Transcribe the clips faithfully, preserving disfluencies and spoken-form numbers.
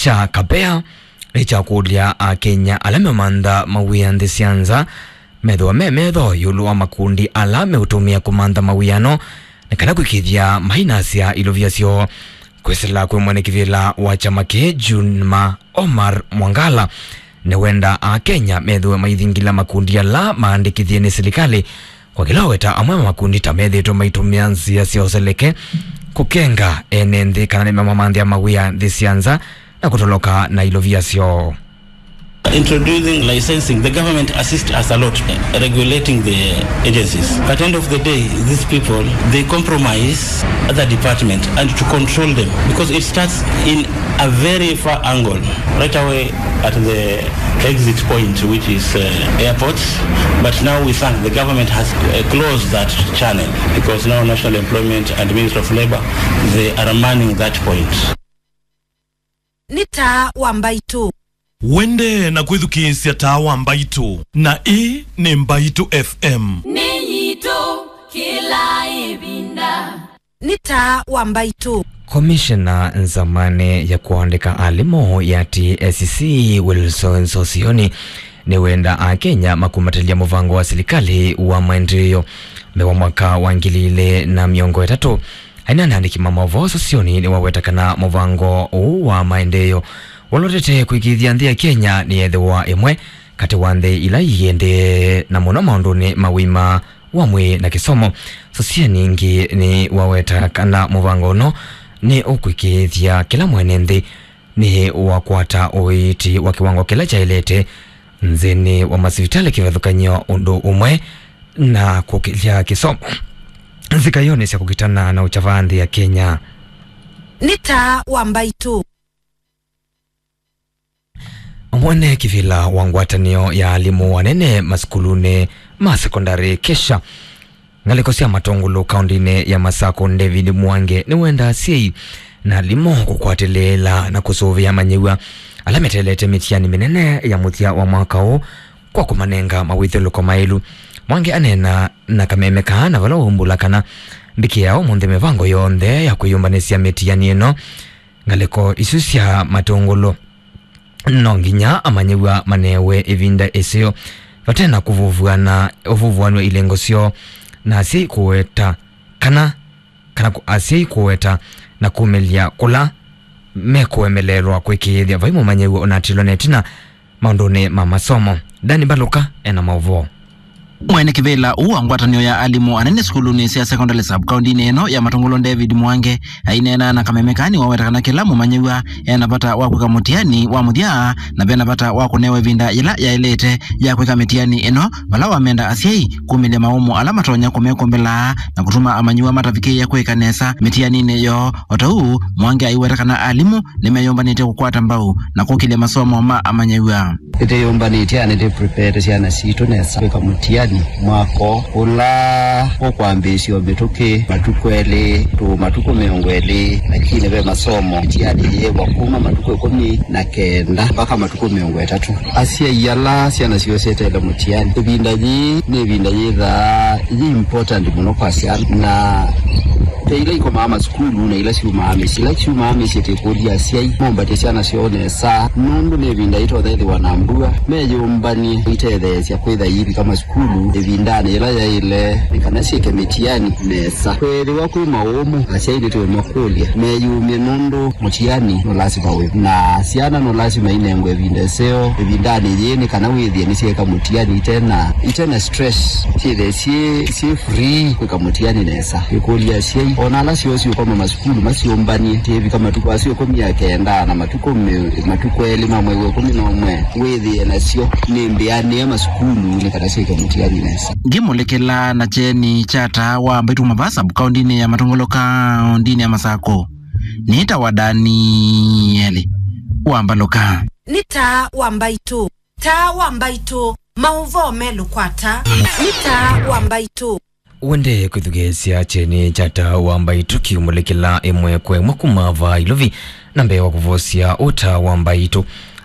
kya Kapea nĩ kya kũlya Akenya ala memantha mawĩa nthĩ sya nza methĩwa me metho ĩũlũ wa makundi ala meũtũmĩa kũmantha mawĩano, nĩ kana kwĩkĩĩthya mainasya ilovia syoo. Kwĩsĩla kwĩ mwene kĩvĩla wa kyama kĩĩ, Juma Omar Mwangala, nĩwendaa Akenya methĩwe maithingĩla makundi ala maandĩkĩthye nĩ silikalĩ, kwa kĩla waweta amwe ma makundi ta methĩĩtwe maitũmĩa nzĩa sya ũseleke kũkenga ene nthĩ kana nĩmamamanthĩa mawĩa nthĩ sya nza na kũtoloka na ilovia syoo. Introducing licensing, the government assist us a lot, eh, regulating the agencies. At the end of the day, these people, they compromise other department and to control them, because it starts in a very far angle, right away at the exit point, which is, uh, airports. But now we thank the government has, uh, closed that channel, because now National Employment and Ministry of Labor, they are manning that point. Nĩ taa wa Mbaitũ. Wende na kwĩthukĩĩsya taa wa Mbaitũ, na ĩĩ nĩ Mbaitũ F M. Nĩ yitũ kĩla ĩvinda. Nĩ taa wa Mbaitũ. Komishena nzamanĩ ya kũandĩka alimũ ya T S C, Wilson Sosioni, nĩwenda Akenya makumbatĩlya mũvango wa silikalĩ wa maendeeo mbee wa mwaka wa ngili ilĩ na mĩongo ĩtatũ. Aineena na andĩki ma maũvoo, Sosioni nĩwaweta kana mũvango ũũ wa maendeeo walotete kwĩkĩĩthya nthĩ ya Kenya nĩyethĩwa ĩmwe katĩ wa nthĩ ila iendee na mũno maũndũnĩ ma ũima wa mwĩĩ na kĩsomo. Sosioni ĩngĩ nĩwaweta kana mũvango ũno nĩ ũkwĩkĩĩthya kĩla mwene nthĩ nĩ wakwata ũiiti wa kĩwango kĩla kyaĩlĩte nthĩnĩ wa masivitalĩ kĩvathũkany'o ũndũ ũmwe na kũkĩlya kĩsomo nzika yonĩ sya kũkitana na ũkyavaa nthĩ ya Kenya. Nĩ taa wa Mbaitũ. Mwene kĩvĩla wa ngwatanĩo ya alimũ anene masukulunĩ ma sekondalĩ, KESHA, ngalĩko sya Matũngũlũ kaũndĩnĩ ya Masakũ, David Mwange, nĩwenda asyai na alimũ kũkwatĩlĩĩla na kũsũvĩa amanyĩw'a ala meteelete mĩtiani mĩnene ya mũthya wa mwaka ũũ kwa kũmanenga mawĩthyũlũko maĩlu. Mwange aneena na kameme kaa na vala waumbũla kana mbikĩĩa ũmũnthĩ mĩvango yonthe ya kwĩyũmbanĩsya mĩtiani ĩno. Ngalĩko isu sya Matũngũlũ no nginya amanyĩw'a manewe ĩvinda ĩseo vate na kũvuvuana, ũvuvuanw'a ilengo syoo, na asyai kũweta kana, kana kũ-, asyai kũweta na kumĩlya kũla mekũemeleelwa kwĩkĩĩthya vai mũmanyĩw'a ũnatilwa na ĩtina maũndũnĩ ma masomo. Dani Mbaluka ena maũvoo. Mwene kĩvĩla ũũ wa ngwatanĩo ya alimũ anene sukulunĩ sya sekondalĩ sub kaũndĩnĩ ĩno ya Matũngũlũ, David Mwange, aineena na kameme kaa nĩwaweta kana kĩla mũmanyĩw'a ena vata wa kwĩka mũtiani wa mũthya, na vena vata wa kũnewa ĩvinda yĩla yaĩlĩte ya kwĩka mĩtiani ĩno, vala wamenda asyai kumĩlya maũmũ ala matonya kũmekũmbĩla na kũtuma amanyĩw'a matavikĩĩa kwĩka nesa mĩtianinĩ yoo. O ta ũu, Mwange aiweta kana alimũ nĩmeyũmbanĩtye kũkwata mbau na kũkĩlya masomo ma amanyĩw'a. Nĩtwĩyũmbanĩtye na nĩtwĩprepared syana sitũ nesa kwĩka mũtiani mwaka ũla ũkwambĩĩsya o mĩtũkĩ matukũ elĩ, tũ matukũ mĩongo ĩlĩ, lakini ve masomo, mĩtiani yĩĩkwa kuma matukũ ĩkũmi na kenda mpaka matukũ mĩongo ĩtatũ. Asyai ala syana syoo syeteele mũtiani, ĩvinda yĩĩ nĩ ĩvinda yĩthaa yĩ important mũno kwa syana, na ve ila ikomaa masukulu na ila syumaa mĩsyĩ. Ila syumaa mĩsyĩ, tĩkũlya asyai mombatye syana syoo nesa, nũndũ nĩ ĩvinda itonya ĩthĩwa na mbua, meyũmbany'e itetheesya kwĩtha iivika masukulu ĩvindanĩ yĩla yaĩle, nĩ kana syĩke mĩtiani nesa. Kwĩthĩwa kwĩ maũmũ, asyai nĩtũũmakũlya meyumye, nũndũ mũtiani no lasima wĩ, na syana no lasima inengwe ĩvinda ĩseo ĩvindanĩ yĩĩ, nĩ kana wĩthĩe nĩsyeeka mũtiani itena, itena stress, syĩthĩe syĩ, syĩ free kwĩka mũtiani nesa. Ĩkũlya asyai, ona ala syoo syũkoma masukulu masyũmbany'e, syĩvika matukũ asu ĩkũmi na kenda na matukũ mĩ-, matukũ elĩ ma mwei wa ĩkũmi na ũmwe, wĩthĩe nasyo nĩ mbĩanĩe masukulu nĩ kana syĩke mũtiani nesa. Ngĩmũlĩkĩla na kyeni kya taa wa Mbaitũ kuma vaa sub kaũndĩnĩ ya Matũngũlũ kaũndĩnĩ ya Masakũ, nĩtawa Danieli wa Mbaluka. Nĩ taa wa Mbaitũ. Taa wa Mbaitũ, maũvoo melũ kwa taa. Nĩ taa wa Mbaitũ. Wende kwĩthukĩĩsya kyeni kya taa wa Mbaitũ kiumũlĩkĩla ĩmwe kwa ĩmwe kuma vaa Ilovi, na mbee wa kũvosya ũũ taa wa Mbaitũ,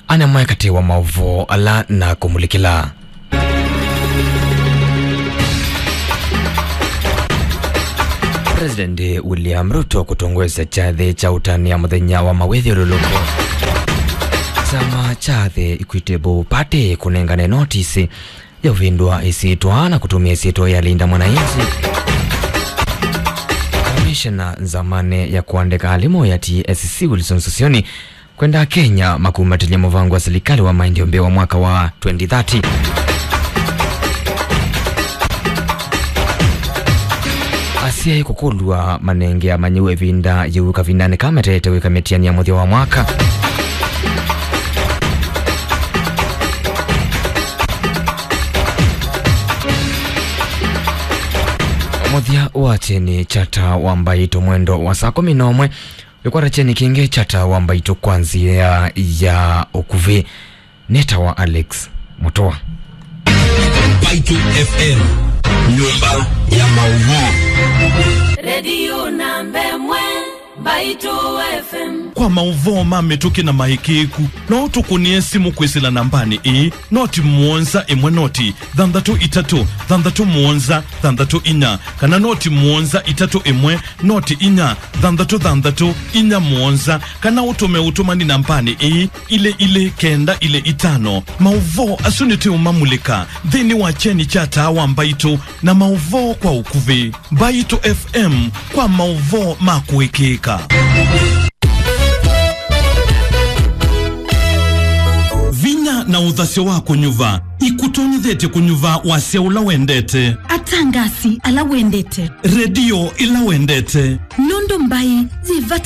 ana amwe katĩ wa maũvoo ala na kũmũlĩkĩla. President William Ruto kũtongoesya kyathĩ kya ũtanĩa mũthenya wa mawĩthyũlũlũko. Kyama kya The Equitable Party kũnengane notisi ya ũvĩndũa ĩsyĩtwa na kũtũmĩa ĩsyĩtwa ya Linda Mwananchi. Kamishena nzamani ya kũandĩka alimũ ya T S C Wilson Sossion kwenda Kenya makumbatĩlya mũvango wa silikalĩ wa maendeeo mbee wa mwaka wa twenty thirty. Asyai kũkũlw'a manenge amanyĩw'a ĩvinda yĩu kavindanĩ ka meteete wĩka mĩtiani ya mũthya wa mwaka. Mũthya wa kyeni kya taa wa Mbaitũ mwendo wa saa kũmi na ũmwe. Ĩkwata kyeni kĩngĩ kya taa wa Mbaitũ kwa nzĩa ya ũkuvĩ. Nĩtawa Alex Mũtũa. Mbaitũ F M, nyũmba ya maũvoo. Redio namba ĩmwe, Mbaitũ F M. Kwa maũvoo ma mĩtũkĩ na maĩkĩĩku, no ũtũkũnĩe simũ kwĩsĩla nambanĩ ĩĩ, noti mũonza ĩmwe noti thanthatũ itatũ thanthatũ mũonza thanthatũ inya, kana noti mũonza itatũ ĩmwe noti inya thanthatũ thanthatũ inya mũonza, kana ũtũme ũtũmani nambanĩ ĩĩ, ilĩ ilĩ kenda ilĩ itano. Maũvoo asu nĩtũũmamulĩka nthĩnĩ wa kyeni kya taa wa Mbaitũ na maũvoo kwa ũkuvĩ. Mbaitũ F M kwa maũvoo ma kũĩkĩĩka. Vinya na ũthasyo wa kũnyuva ikũtonyethete kũnyuva wasya ũla wendete. Atangasi ala wendete. Redio ĩla wendete. Nũndũ mbaĩ yĩ vata